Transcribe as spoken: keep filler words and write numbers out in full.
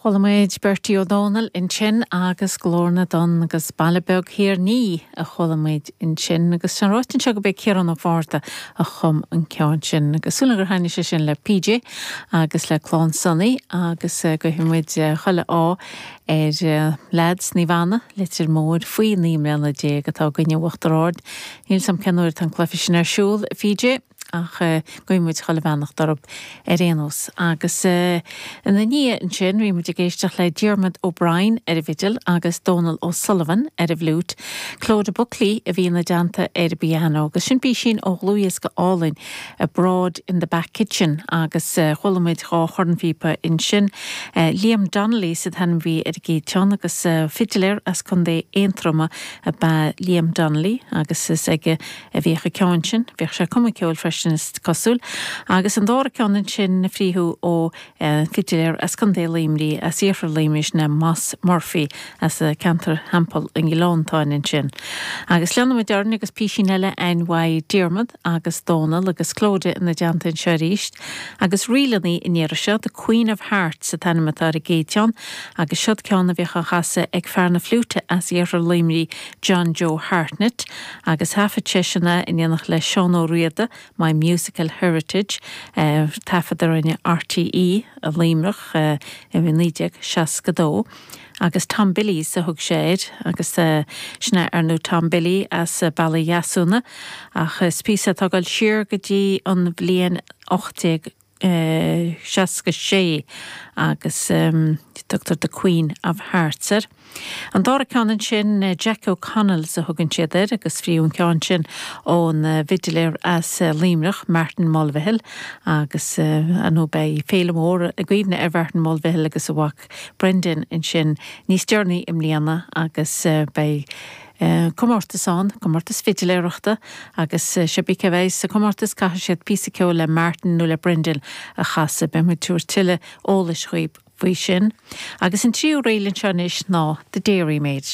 Chuala muid Bertie Ó Dónaill ansin agus Glór na dTonn agus Baile Beag Thír an Fhia a chuala muid ansin agus sin ráite anseo gurb é Ciarán Ó Fátharta a chum an ceann sin agus súil gur thaitnigh sé sin le PJ agus le clann Sonny agus guímid chuile ádh ar leaids Naomh Anna Leitir Móir faoi naoi mbliana déag atá i gcoinne Uachtar Ard. Níl a fhios agam cén uair atá an cluiche sin ar siúl PJ ach guímid chuile bheannacht orthu ar aon nós agus ina ndiaidh ansin bhí muid ag éisteacht le Diarmuid O'Brien ar an bhfidil agus Donal O'Sullivan ar an bhfliúit. Clodagh Buckley a bhí ina dteannta ar an bpianó, agus sin písín ó dhlúthdhiosca álainn Abroad in the Back Kitchen agus chuala muid dhá chornphíopa ansin. Liam Donnelly sa t-ainm a bhí ar an gcéad cheann agus fidiléir as Contae Aontroma ab ea Liam Donnelly agus is aige a bhíodh an ceann sin, bhíodh sé ag cumadh ceoil freisin is cosúil, agus an dara ceann ansin fríothú ó fidiléir as Contae Luimnigh as iarthar Luimnigh sin Moss Murphy as ceantar Theampall an Ghleanntáin ansin. Agus leanfaimid orainn agus písín eile an uaidh Diarmuid agus Dónal agus Clodagh ina dteannta anseo arís, agus ríleanna an iarraidh seo The Queen of Hearts an t-ainm atá ar an gcéad cheann, agus siod ceann a bhíodh á chasadh ag fear na fliúite as iarthar Luimnigh John Joe Hartnett, agus thaifead seisean é in éineacht le Seán Ó Riada, My Musical Heritage, taifead a rinne RTÉ i Luimneach i naoi déag seasca dó. Agus Tom Billy's a thug sé air agus sin é ar ndóigh Tom Billy as Baile Dheasúna ach is píosa atá ag dul siar go dtí an bhliain ocht déag seasca sé agus tugtar The Queen of Hearts air. An dara ceann ansin Jack O'Connell's a thugann siad air agus fríothú an ceann sin ón bhfidiléir as Luimneach Martin Mulvihill agus nó beidh féile mór i gcuimhne ar Mhartin Mulvihill agus a mhac Brendan ansin níos deireanaí i mbliana agus beidh comórtas ann, comórtas fidiléireachta agus cibé cé a bheidh sa comórtas caithfidh siad píosa ceoil le Martin nó le Brendan a chasadh beidh muid ag tabhairt tuilleadh eolais dhaoibh faoi sin. Agus an tríú ríl anseo anois ná The Dairymaid.